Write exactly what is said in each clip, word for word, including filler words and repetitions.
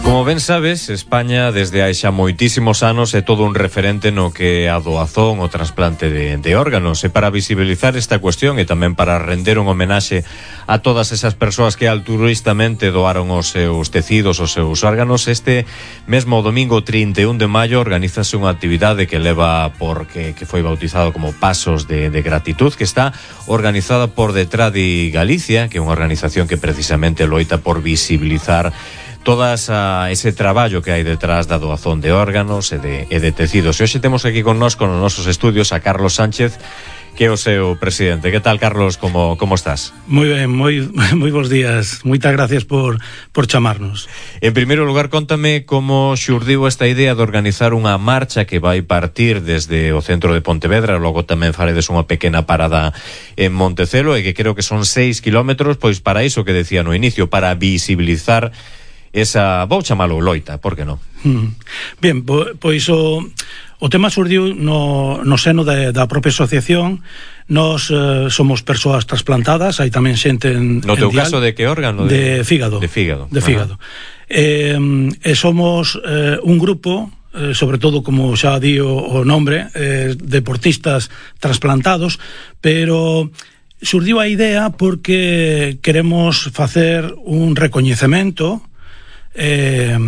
Como ben sabes, España desde hai xa moitísimos anos é todo un referente no que a doazón, o trasplante de, de órganos. E para visibilizar esta cuestión e tamén para render un homenaxe a todas esas persoas que altruistamente doaron os seus tecidos, os seus órganos, este mesmo domingo trinta e un de maio organízase unha actividade que leva por que, que foi bautizado como Pasos de, de Gratitud, que está organizada por Detradi Galicia, que é unha organización que precisamente loita por visibilizar todas a, ese traballo que hai detrás da doazón de órganos e de, e de tecidos. E hoxe temos aquí con nós, con os nosos estudios, a Carlos Sánchez, que é o seu presidente. Que tal, Carlos? Como, como estás? Moi ben, moi, moi bons días. Moitas gracias por, por chamarnos. En primeiro lugar, contame como xurdiu esta idea de organizar unha marcha que vai partir desde o centro de Pontevedra, logo tamén faredes unha pequena parada en Montecelo, e que creo que son seis kilómetros, pois para iso que decía no inicio, para visibilizar esa, vou chamalo loita, por que non? Mm. Bien, po, pois o, o tema surdiu no, no seno de, da propia asociación. Nos eh, somos persoas trasplantadas, hai tamén xente en, no teu en dial, caso de que órgano? De, de fígado. De fígado. De fígado. Eh, e somos eh, un grupo, eh, sobre todo, como xa di o, o nombre, eh, deportistas trasplantados, pero surdiu a idea porque queremos facer un recoñecemento Eh,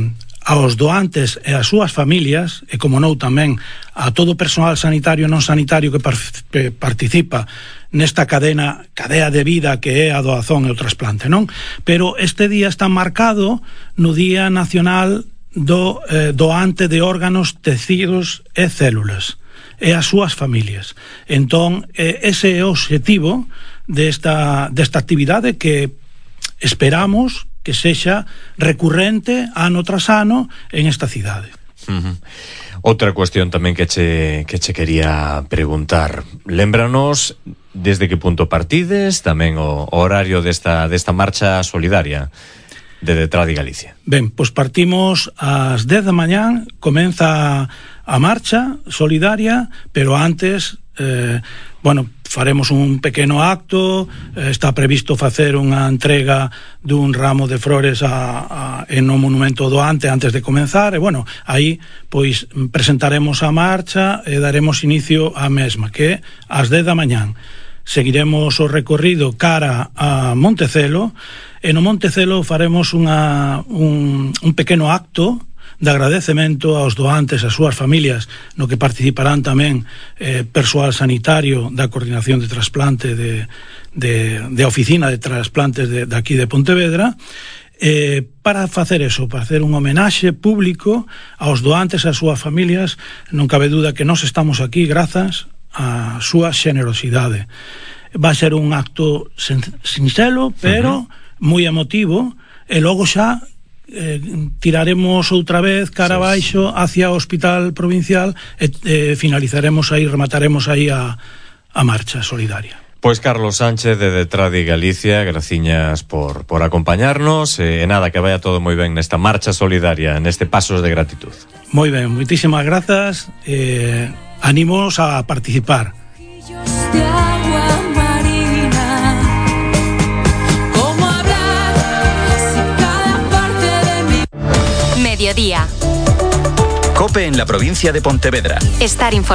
aos doantes e as súas familias, e como non tamén a todo o persoal sanitario e non sanitario que, par que participa nesta cadena, cadea de vida que é a doazón e o trasplante, non? Pero este día está marcado no Día Nacional do eh, doante de órganos, tecidos e células, e as súas familias. Entón, eh, ese é o obxectivo desta, desta actividade que esperamos que sexa recurrente ano tras ano en esta cidade. Uh-huh. Outra cuestión tamén que che, que che quería preguntar. Lémbranos desde que punto partides, tamén o, o horario desta, desta marcha solidaria de Detradi Galicia. Ben, pois partimos ás dez da mañán, comeza a marcha solidaria, pero antes, eh, bueno, faremos un pequeno acto, eh, está previsto facer unha entrega dun ramo de flores a, a, en o monumento doante antes de comenzar, e bueno, aí pois presentaremos a marcha e daremos inicio á mesma, que é ás dez da mañán. Seguiremos o recorrido cara a Montecelo, e no Montecelo faremos unha, un, un pequeno acto de agradecemento aos doantes, ás súas familias, no que participarán tamén eh, persoal sanitario da Coordinación de Trasplante de, de, de Oficina de Trasplantes de, de aquí de Pontevedra, eh, para facer eso, para hacer un homenaxe público aos doantes e ás súas familias. Non cabe duda que nós estamos aquí grazas á súa xenerosidade. Vai ser un acto sinxelo, pero uh-huh. moi emotivo, e logo xa Eh, tiraremos outra vez cara abaixo hacia o Hospital Provincial e eh, finalizaremos aí, remataremos aí a, a marcha solidaria. Pois Carlos Sánchez de Detradi Galicia, graciñas por, por acompañarnos, e eh, nada, que vaya todo moi ben nesta marcha solidaria, neste Pasos de Gratitud. Moi ben, moitísimas grazas, eh, anímonos a participar. Mediodía. COPE en la provincia de Pontevedra. Estar informado.